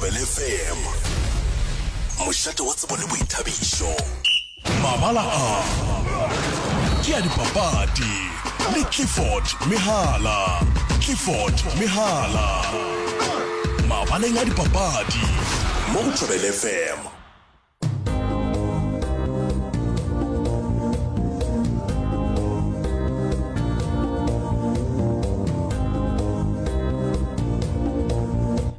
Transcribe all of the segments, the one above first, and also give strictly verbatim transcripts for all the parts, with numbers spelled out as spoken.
Thobela F M, mošate wa tsebo le boithabišo. Mabala a ke a dipapadi le Clifford Mehala. Clifford Mehala mabaleng a dipapadi mo go Thobela F M.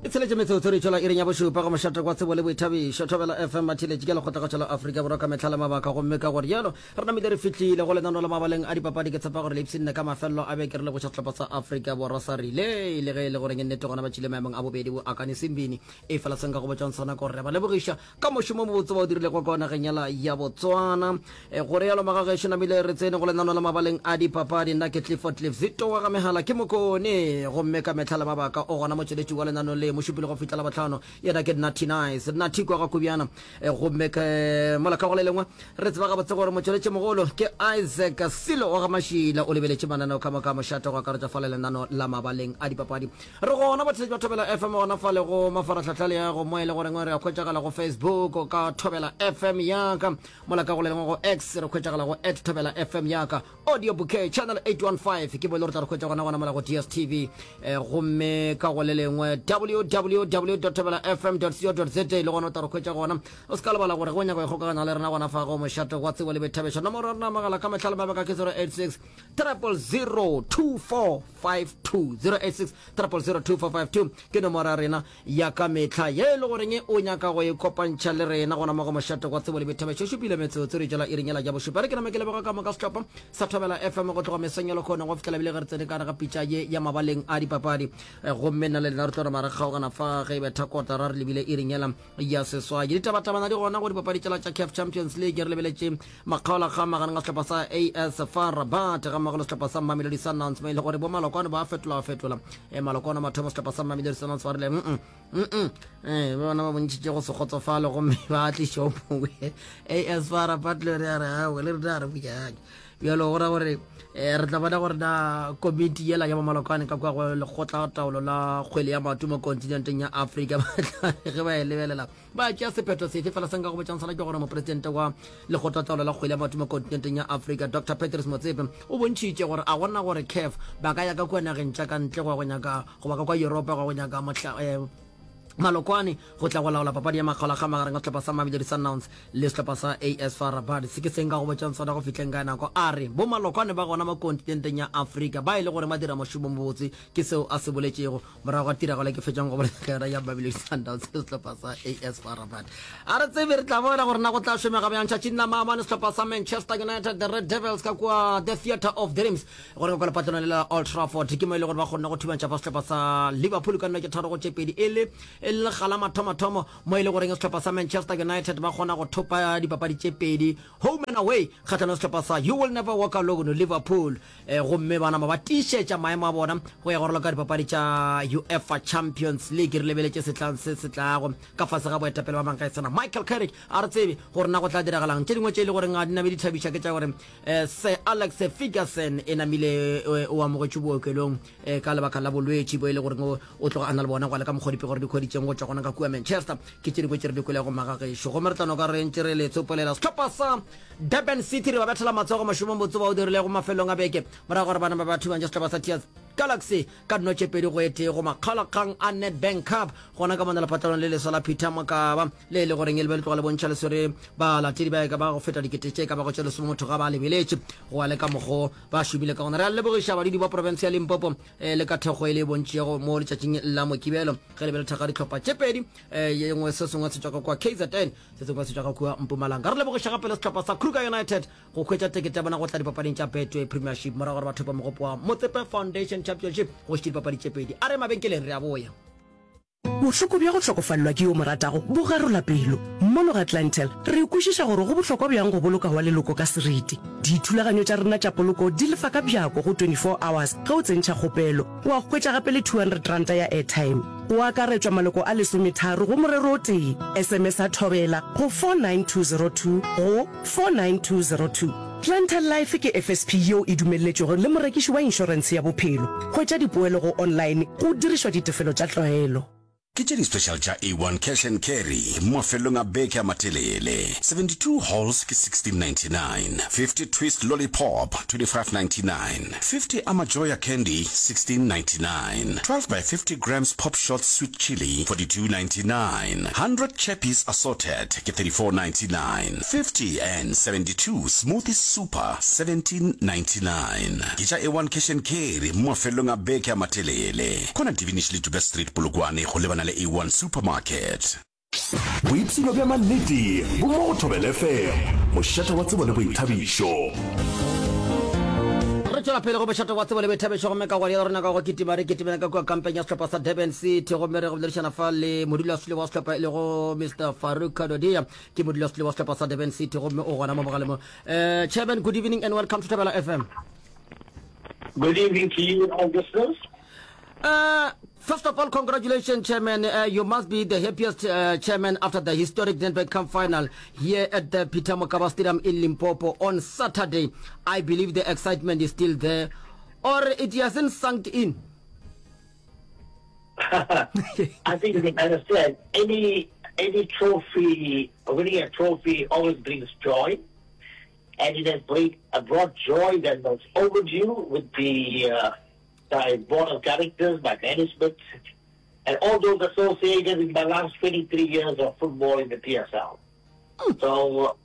E tsheletše metsotso re tšwela iring ya bošupa go mošate kwa tsebo le boithabišo Thobela F M. Mathiletše ke lekgotlakgatšo la Afrika Borwa ka mehla le mabaka, gomme ka gore yalo re namile re fihlile go lenano la mabaleng a dipapadi. Ke tshepa gore le ipshinne ka mafelelo a beke. Re leboša sehlopha sa Afrika Borwa sa relay, le ge e le goreng nnete gona ba tšile maemong a bobedi bo akane sembini e fela seng ka go botšang sona gore re ba lebogiša ka mošomo mobotse ba o dirilego kwa nageng yela ya Botswana. e, gore yalo magagešo namile re tsene go lenano la mabaleng a dipapadi. Nna ke Clifford Cliff Zito wa ga Mehala ke Mokone, gomme ka mehla le mabaka o gona motšweletši wa lenano le mošupile go fihla la botlhano, yena ke Natty Nice Natty kwa ga Kubjana. e, gomme ke mola ka go le lengwe re tseba gabotse gore motšweletši mogolo ke Isaac Silo wa ga Mašila, o lebeletše mananeo ka moka mošate go akaretša fale lenano la mabaleng a dipapadi. Re gona batheletši ba Thobela F M gona fale go mafaratlhatlha le ya go mo e le goreng re a hwetšagala go Facebook ka Thobela F M yaka, mola ka go le lengwe go X re hwetšagala go at Thobela F M yaka, audio bouquet channel eight one five ke bo e le gore tla re hwetša gona gona mola go D S T V. eh, gomme ka go le lengwe W W W thobela F M co za le gona o tla re hwetša gona. O se ka lebala gore go nyaka go ikgokaganya le rena gona fa go mošate wa tsebo le boithabišo, nomoro ya rena mogala ka mehlala mabaka ke zero eight six triple zero two four five two, zero eight six triple zero two four five two ke nomoro ya rena ya ka mehla ye e le goreng o nyaka go e kopantšha le rena gona mo go mošate wa tsebo le boithabišo. Šupile metsotso re jela iring yela ya bošupa. Re ke name ke leboga ka moka sehlopha sa Thobela F M go tloga mesong ya lekgono go fihlela bile ge re tsene ka gare ga pitša ye ya mabaleng a dipapadi. Eh, gomme nna le lena re tlo re mare kgaogana fa ge e betha kotara re lebile iring yela ya seswai. Ditabatabana di gona go dipapadi tšela tša CAF Champions League. Re lebeletše makgaolakgang magareng ga sehlopha sa A S FAR Rabat ga mmogo le sehlopha sa Mamelodi Sundowns, mo e le gore bo malokwane ba fetola fetola e malokwane mathomo. Sehlopha sa Mamelodi Sundowns ba rile mm mm eh bona ba bontšhitše go se kgotsofale, gomme ba tliša o mongwe. A S FAR Rabat le re a re awe le re a re bojake bjalo go ra gore eh, re tla bona gore na komiti yela ya bomalokwane ka kwa go lekgotla taolo la kgwele ya maoto mo kontinenteng ya Afrika ge ba e lebelela ba tšea sephetho sefe. Fela se nka go botšang sona ke gore mopresidente wa lekgotla taolo la kgwele ya maoto mo kontinenteng ya Afrika, Doctor Patrice Motsepe, o bontšhitše gore a gona gore CAF ba ka ya ka kua nageng tša ka ntle go ya go nyaka goba ka kwa Europa go ya go nyaka mohla eh, malokwane go tla go laola papadi ya makgaolakgang magareng ga sehlopha sa Mamelodi Sundowns le sehlopha sa A S FAR Rabat. Se ke seng ka go botšang sona go fihleng ka nako a re bo malokwane ba gona mo kontinenteng ya Afrika ba e le gore ba dira mošomo mobotse. Ke seo a se boletšego morago ga tiragalo ke fetšang go bolela ka yona ya Mamelodi Sundowns le sehlopha sa A S FAR Rabat. A re tsebe, re tla bona gore na go tla šomega bjang. Tšatšing la maabane sehlopha sa Manchester United, the Red Devils, ka kua the Theatre of Dreams gore ka kwa lepatlelong le la Old Trafford ke mo e le gore ba kgonne go thubantšha fa sehlopha sa Liverpool ka nno ke tharo go tše pedi, e le e le lekga la mathomothomo mo e le goreng sehlopha sa Manchester United ba kgona go thopa dipapadi tše pedi home and away kgatlhanong sehlopha sa You Will Never Walk Alone Liverpool. eh, gomme ba nama ba tiišetša maemo a bona go ya go raloka dipapadi tša UEFA Champions League re lebeletše setlang se se tlago ka fase ga boetapele ba mankaisana Michael Carrick. A re tsebe gore na go tla diragalang. Tše dingwe tše e le goreng a di name di thabiša ke tša gore eh, Sir Alex Ferguson e namile eh, o amogetšwe bookelong eh, ka lebaka la bolwetši bo e le goreng o tloga a na le bona go le ka mokgwa dipego re di hweditšeng go tšwa gona ka kua Manchester. Ke tše dingwe tše re di kwelego magagešo, gomme re tla no ka re ntše re le tsopolela. Sehlopha sa Durban City re ba bethela matsogo mošomong botse ba o dirilego mafelong a beke morago gore bana ba ba thubantša sehlopha sa T S Galaxy ka dino tše pedi go e tee go makgaolakgang a Nedbank Cup gona ka mona lepatlelong le leswa la Peter Mokaba le e le goreng e le be le tloga le bontšha le swere balatedi ba e ka ba go feta dikete tše ka bago tše lesome motho ga ba lebeletše go ya le ka mokgo ba šomile ka gona. Re a lebogiša badudi ba profense ya Limpopo eh, le ka thekgo e le e bontšego mo letšatšing la Mokibelo ge le be le thekga dihlopha tše pedi, eh, ye nngwe se sengwe se tšwa ka kua K Z N, se sengwe se tšwa ka kua Mpumalanga. Re lebogiša gape le sehlopha sa Kruger United go hwetša tekete ya bona go tla dipapading tša Betway Premiership morago gore ba thope mogopo wa Motsepe Foundation Championship go šetše dipapadi tše pedi. A re mabenkeleng, re a boya. Bohloko bja go hlokofalelwa ke yo mo ratago bo garola pelo. Mono ga Clientele, re kwešiša gore go bohlokwa bjang go boloka wa leloko ka seriti. Dithulaganyo tša rena tša poloko di lefa ka bjako go twenty-four hours ge o tsentšha kgopelo. Wa hwetša gape le two hundred ranta ya airtime. Go akaretšwa maloko a lesometharo go morero o tee. S M S a Thobela go four nine two zero two go four nine two zero two. Clientele Life ke F S P yeo e dumelletšwego le morekiši wa inšorentshe ya bophelo. Hwetša dipoelo go online go dirišwa ditefelo tša tlwaelo. Ke tše di-special tša A one Cash and Carry mafelong a beke a matelele. Seventy two Halls ke sixteen ninety nine, fifty Twist Lollipop twenty five ninety nine, fifty Amajoya Candy sixteen ninety nine, twelve by fifty grams Pop Shots Sweet Chili forty two ninety nine, hundred Chappies Assorted ke thirty four ninety nine, fifty and seventy two Smoothie Super seventeen ninety nine. Ke tša A one Cash and Carry mafelong a beke a matelele. Khona Divinish le Dube Street Polokwane go lebana le A one Supermarket. Boipshino bja mannete bo mo go Thobela F M, mošate wa tsebo le boithabišo. Re tšwela pele go mošate wa tsebo le boithabišo gomme ka gona rena ka go kitima re kitimela ka kua kampeng ya sehlopha sa Durban City gomme re go boledišana fa le modulasetulo wa sehlopha e lego Mister Farouk Kadodia, ke modulasetulo wa sehlopha sa Durban City gomme o gona mo mogaleng mo. Uh, Chairman, good evening and welcome to Thobela F M. Good evening to you and all listeners. Uh, first of all, congratulations, Chairman. Uh, you must be the happiest, uh, Chairman after the historic Nedbank Cup final here at the Peter Mokaba Stadium in Limpopo on Saturday. I believe the excitement is still there, or it hasn't sunk in. I think you can understand, any, any trophy, winning a trophy always brings joy, and it has bring, brought joy that was overdue with the... Uh, my board of directors, my management, and all those associated with my last twenty-three years of football in the P S L. Mm. So,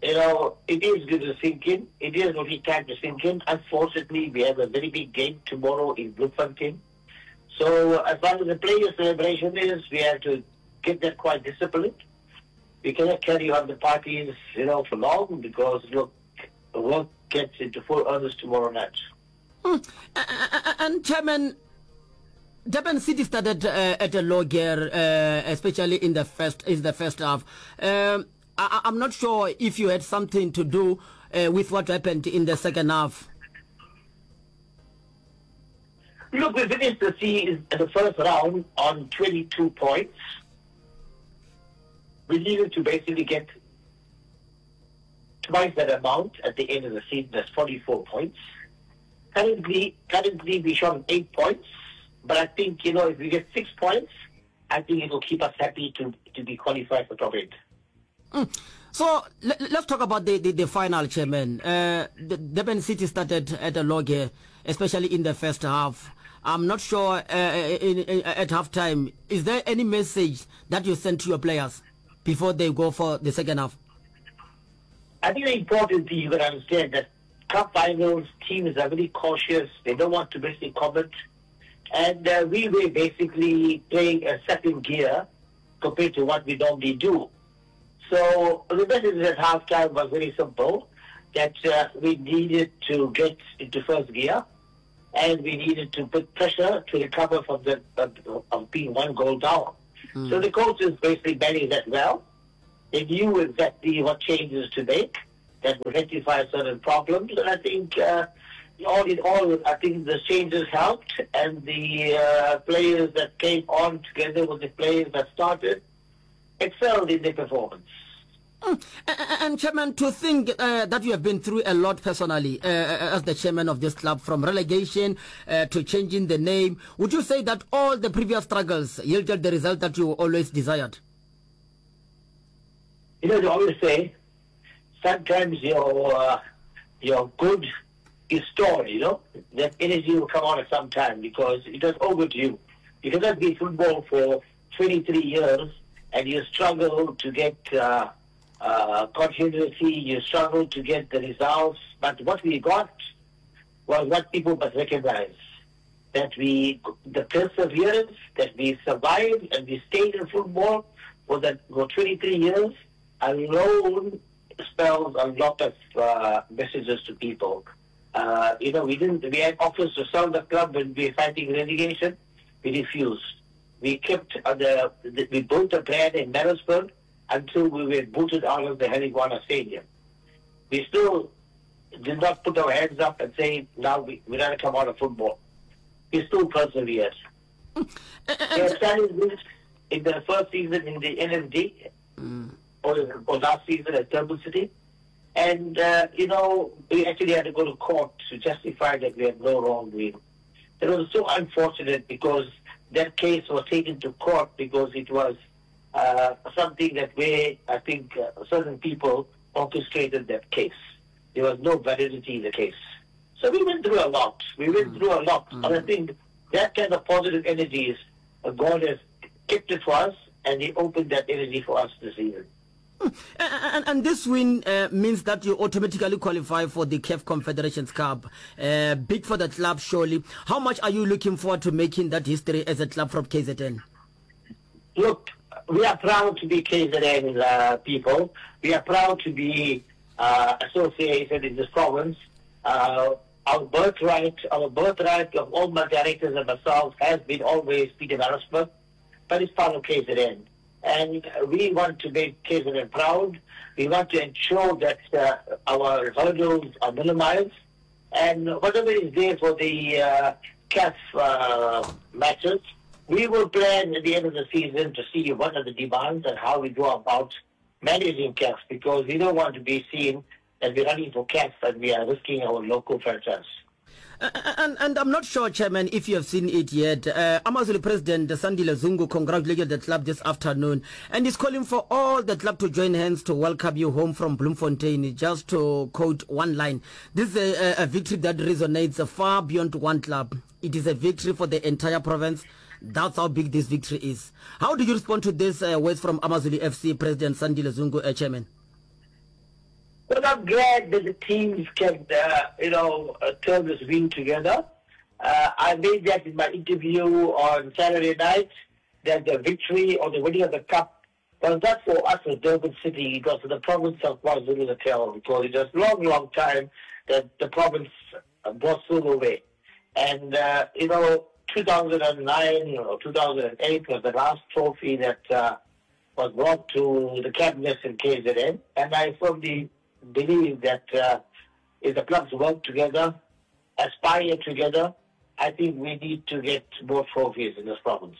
you know, it is good to sink in. It is only time to sink in. Unfortunately, we have a very big game tomorrow in Bloemfontein. So, as far as the player celebration is, we have to get that quite disciplined. We cannot carry on the parties, you know, for long because, look, the work gets into full earnest tomorrow night. Mm. And Chairman, Durban City started, uh, at a low gear, uh, especially in the first, in the first half. Um, I, I'm not sure if you had something to do, uh, with what happened in the second half. Look, we finished the season, the first round on twenty-two points. We needed to basically get twice that amount at the end of the season. That's forty-four points. Currently, currently we shot eight points, but I think, you know, if we get six points, I think it will keep us happy to, to be qualified for top eight. Mm. So let, let's talk about the, the, the final, Chairman. Uh, the Durban City started at a low gear, especially in the first half. I'm not sure, uh, in, in, at halftime, is there any message that you sent to your players before they go for the second half? I think the important thing you can understand that cup finals, teams are very cautious. They don't want to basically comment. And, uh, we were basically playing a second gear compared to what we normally do. So the message at halftime was very simple, that, uh, we needed to get into first gear and we needed to put pressure to recover from the, uh, of being one goal down. Mm. So the coaches basically managed that well. They knew exactly what changes to make that would rectify certain problems. And I think, uh, all in all, I think the changes helped, and the, uh, players that came on together with the players that started excelled in their performance. Mm. And Chairman, to think, uh, that you have been through a lot personally, uh, as the chairman of this club, from relegation, uh, to changing the name, would you say that all the previous struggles yielded the result that you always desired? You know, they always say, sometimes your, uh, your good is stored, you know. That energy will come out at some time because it is overdue. You cannot be football for twenty-three years and you struggle to get, uh, uh, continuity, you struggle to get the results. But what we got was what people must recognize, that we, the perseverance, that we survived and we stayed in football for, that, for twenty-three years alone spells a lot of, uh, messages to people. Uh, you know, we didn't, we had offers to sell the club when we were fighting relegation. We refused. We kept the, the, we built a brand in Maritzburg until we were booted out of the Harry Gwala Stadium. We still did not put our hands up and say, now we, we're gonna come out of football. We still persevered. We had challenges in the first season in the N F D, mm. or, or last season at Durban City. And, uh, you know, we actually had to go to court to justify that we had no wrongdoing. It was so unfortunate because that case was taken to court because it was uh, something that where I think uh, certain people orchestrated that case. There was no validity in the case. So we went through a lot. We went mm. through a lot. Mm. And I think that kind of positive energy is uh, God has kept it for us and He opened that energy for us this season. Mm. And, and, this win uh, means that you automatically qualify for the CAF Confederations Cup. Uh, big for the club, surely. How much are you looking forward to making that history as a club from KZN? Look, we are proud to be KZN uh, people. We are proud to be uh, associated in this province. Uh, our birthright, our birthright of all my directors and myself has been always Pietermaritzburg, but it's part of KZN. And we want to make KZN proud. We want to ensure that uh, our hurdles are minimized. And whatever is there for the uh, CAF uh, matches, we will plan at the end of the season to see what are the demands and how we go about managing CAF because we don't want to be seen that we're running for CAF and we are risking our local franchise. And, and I'm not sure, Chairman, if you have seen it yet. Uh, Amazulu President Sandile Zungu congratulated the club this afternoon and is calling for all the club to join hands to welcome you home from Bloemfontein. Just to quote one line, this is a, a victory that resonates far beyond one club. It is a victory for the entire province. That's how big this victory is. How do you respond to this uh, words from Amazulu FC President Sandile Zungu, uh, Chairman? Well, I'm glad that the teams can, uh, you know, uh, turn this win together. Uh, I made that in my interview on Saturday night that the victory or the winning of the cup was not for us as Durban City, it was for the province of KwaZulu-Natal because it was a long, long time that the province brought silverware. And, uh, you know, two thousand and nine or two thousand and eight was the last trophy that, uh, was brought to the cabinets in K Z N. And I firmly believe that, uh, if the clubs work together, aspire together, I think we need to get more trophies in this province.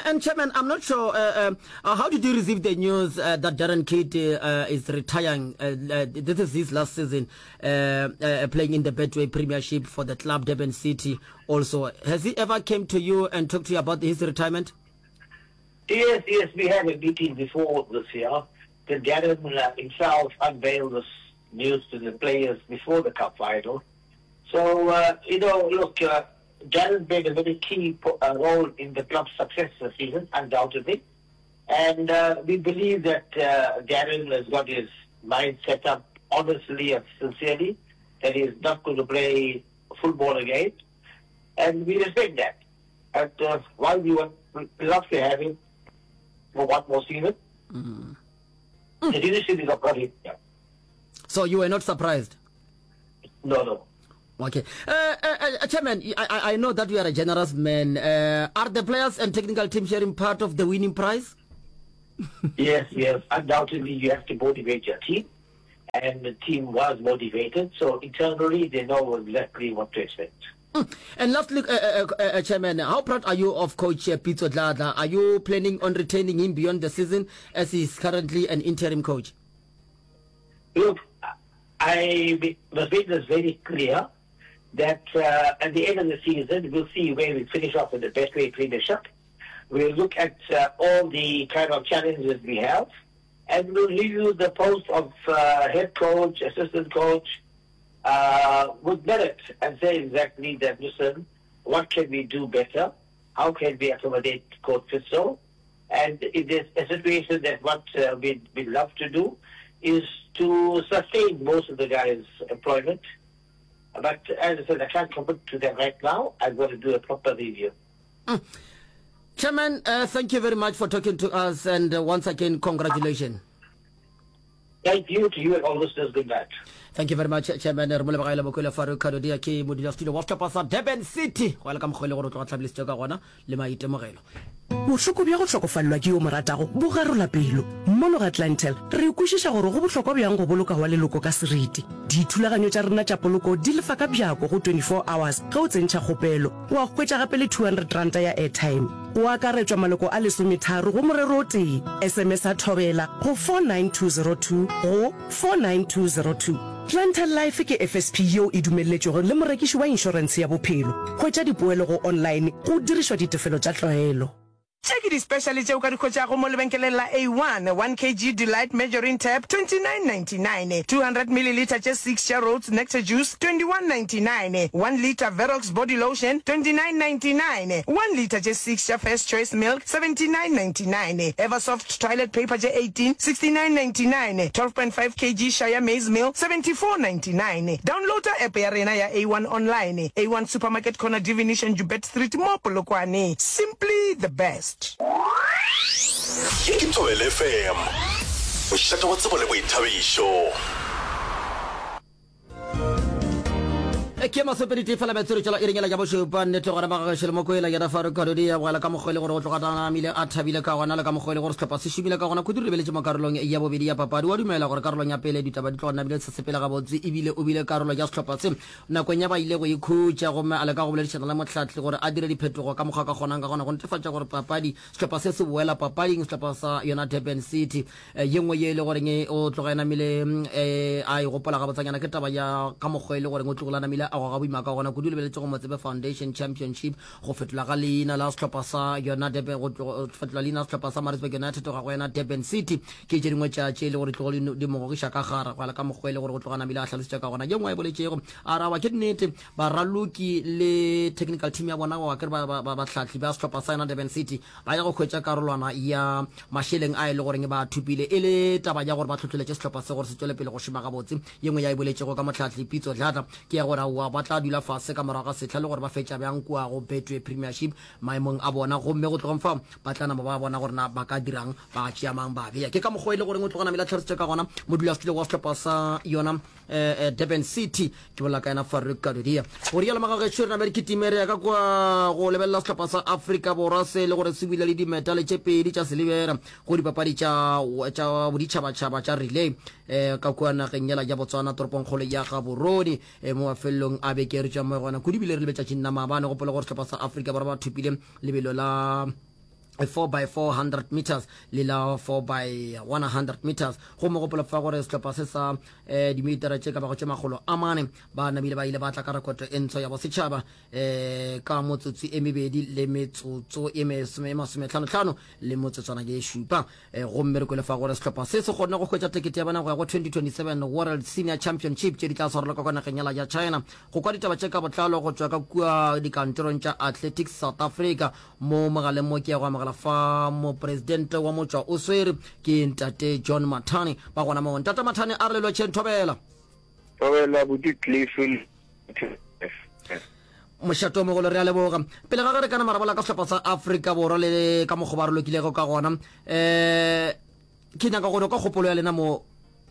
And Chairman, I'm not sure, uh, uh, how did you receive the news, uh, that Darren Keet, uh, is retiring? Uh, uh, this is his last season, uh, uh, playing in the Betway Premiership for the club Durban City also. Has he ever came to you and talked to you about his retirement? Yes, yes, we had a meeting before this year. The Darren, uh, himself unveiled this news to the players before the cup final. So, uh, you know, look, uh, Darren played a very key po-, uh, role in the club's success this season, undoubtedly. And, uh, we believe that, uh, Darren has got his mind set up honestly and sincerely, that he is not going to play football again. And we respect that. But, uh, while we would love to have him for one more season, Mm. the leadership is not him. Yeah. So you were not surprised? No, no. Okay. Uh, uh, uh, Chairman, I, I, I know that you are a generous man. Uh, are the players and technical team sharing part of the winning prize? Yes, yes. Undoubtedly, you have to motivate your team. And the team was motivated. So internally, they know exactly what to expect. Mm. And lastly, uh, uh, uh, uh, Chairman, how proud are you of Coach, uh, Pitso Dladla? Are you planning on retaining him beyond the season as he is currently an interim coach? Look, I must make this very clear that, uh, at the end of the season, we'll see where we finish off with the Betway Premiership. We'll look at, uh, all the kind of challenges we have, and we'll review the post of, uh, head coach, assistant coach, uh, with merit and say exactly that, listen, what can we do better? How can we accommodate Coach Pitso? And if there's a situation that what, uh, we'd, we'd love to do is to sustain most of the guys' employment. But as I said, I can't commit to that right now. I've got to do a proper review. Mm. Chairman, uh, thank you very much for talking to us, and, uh, once again, congratulations. Thank you to you and all listeners. Good night. Thank you very much, Chairman. Re mo lebogela Mokwele Farouk Kadodia ke modulasetulo wa sehlopha sa Durban City. Go ya le ka mokgwa e le gore o tloga tlhabolositse ka gona le maitemogelo. Bohloko bja go hlokofalelwa ke yo mo ratago bo garola pelo. Mono ga Clientele re kwešiša gore go bohlokwa bjang go boloka wa leloko ka seriti. Dithulaganyo tša rena tša poloko di lefa ka bjako go twenty-four hours ge o tsentšha kgopelo. Wa hwetša gape le two hundred ranta ya airtime. O akaretšwa maloko a lesometharo go morero o tee. S M S a thobela go four nine two zero two go four nine two zero two. Clientele Life ke F S P yeo e dumelletšwego le morekiši wa inšorentshe ya bophelo. Hwetša dipoelo go online go dirišwa ditefelo tša tlwaelo. Tše ke di-special tše o ka di hwetšago mo lebenkeleng la A one, one kg Delight Margarine Tab, twenty-nine ninety-nine, two hundred millilitre tše six tša Rhodes Nectar Juice, twenty-one ninety-nine, one litre Verox Body Lotion, twenty-nine ninety-nine, one litre tše six tša First Choice Milk, seventy-nine ninety-nine, Eversoft Toilet Paper tše eighteen, sixty-nine ninety-nine, twelve point five kg Shire Maize Meal, seventy-four ninety-nine. Downloada app ya rena ya A one online, A one Supermarket Corner Divination Joubert Street mo Polokwane. Simply the best. Ye ke Thobela F M, mošate wa tsebo le boithabišo. Ke masomepedi tee fela metsotso tšela iring yela ya bošupa. Nnete gona bagagešo le mokwela yena Farouk Kadodia bogela ka mokgwa e le gore o tloga namile a thabile ka gona le ka mokgwa e le gore sehlopha se šomile ka gona. Kudu re lebeletše mo karolong ya bobedi ya papadi. Wa dumela gore karolong ya pele ditaba di tloga namile di sa sepele gabotse ebile o bile karolo ya sehlopha se nakong ya ba ile go ikhutša gomme a leka go boledišana le mohlahli gore a dire diphetogo ka mokgwa a ka kgonang ka gona go netefatša gore papadi sehlopha se se boela papading sehlopha sa yona Durban City. Ye nngwe ye e le goreng o tloga e namile a e gopola gabotsanyana ke taba ya ka mokgwa e le goreng o tlogile a namile a goga boima ka gona kudu lebeletše go Motsepe Foundation Championship go fetola ga leina la sehlopha sa yona Durban go fetola leina la sehlopha sa Maritzburg United go ya go yona Durban City ke tše dingwe tša tše e le gore tlogo di mo gogiša ka gare go ya le ka mokgwa e le gore o tloga namile a hlalositše ka gona. Ye nngwe a e boletšego a re aowa ke nnete baraloki le technical team ya bona wa kere bahlahli ba sehlopha sa yona Durban City ba ya go hwetša karolwana ya mašeleng a e le goreng ba a thopile e le taba ya gore ba hlohleletše sehlopha se gore se tšwele pele go šoma gabotse. Ye nngwe ya e boletšego ka mohlahli Pitso Dladla ke ya gore aowa ba tla dula fase ka morago ga sehla le gore ba fetša bjang kua go Betway Premiership maemong a bona gomme go tlogeng fao ba tla nama ba bona gore na ba ka dirang ba tšea mang ba bea. Ke ka mokgwa e le goreng o tloga namile a tlhalositše ka gona modulasetulo wa sehlopha sa yona Durban City ke bolela ka yena Farouk Kadodia. Go rialo magagešo re name re kitime re ya ka kua go lebelela sehlopha sa Afrika Borwa se le gore se bile le dimetale tše pedi tša silibera go dipapadi tša tša boditšhabatšhaba tša relay eh, ka kua nageng yela ya Botswana toropongkgolo ya Gaborone eh, mo mafelelong a beke re tšwa mo gona kudu bile re lebetšatšing la maabane. Gopola gore sehlopha sa Afrika Borwa ba thopile lebelo la four by four hundred meters le la four by one hundred meters. Gomme gopola fa gore sehlopha se sa um dimetara tše ka bago tše makgolo a mane ba namile ba ile ba tla ka rekoto e ntsho ya bosetšhaba um ka motsotso e mebedi le metsotso e masometlhanotlhano le motsotswana ye šupa. um gomme re kwele fa gore sehlopha se se kgonne go hwetša tekete ya bona go ya go twenty twenty-seven World Senior Championship tše di tla swarelwa ka kwa nageng yela ya China. Go kwa ditaba tše ka botlalo go tšwa ka kua dikantorong tša Athletics South Africa mo mogaleng mo ke ya go amogela fa mopresidente wa motšwa o swere ke ntate John Mathane ba gona mo. Ntate Mathane a re le lotšheng thobela. Thobela buti Cliff. Mošate o mogolo re a leboga. Pele ga ge re ka nama ra bolela ka sehlopha sa Afrika Borwa le ka mokgwa ba re lokilego ka gona, um ke nyaka go no ka kgopolo ya lena mo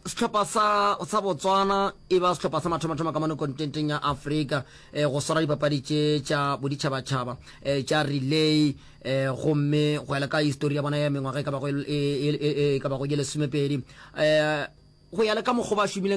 sehlopha sa sa Botswana e ba sehlopha sa mathomathomo ka mono kontinenteng ya Afrika eh, go swara dipapadi tše tša boditšhabatšhaba eh, tša relay eh, gomme go ya le ka histori ya bona ya mengwaga e ka bago e, e, e, e ka bago ye lesomepedi eh, go ya le ka mokgwa ba šomileng